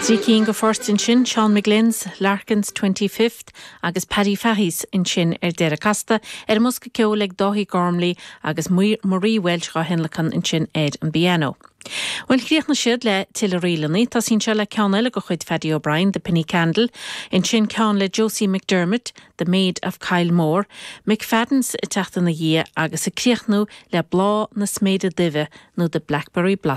Trí cinn de phoirt ansin, Seán McGlynn's, Larkin's 25th agus Paddy Fahy's ansin ar deireadh. Casta ar an mbosca ceoil ag Dáithí Gormley agus Marie Walsh dhá thionlacan ansin ar an bpianó. Bhuel, chríochnaigh siad le tuilleadh ríleanna. Tosaíonn seo le ceann eile de chuid Phaddy O'Brien, The Penny Candle, ansin ceann le Josie McDermott, The Maid of Kylemore, McFadden's ag teacht ina dhiaidh agus ag críochnú le Bláth na Sméide Duibhe nó The Blackberry Blossom.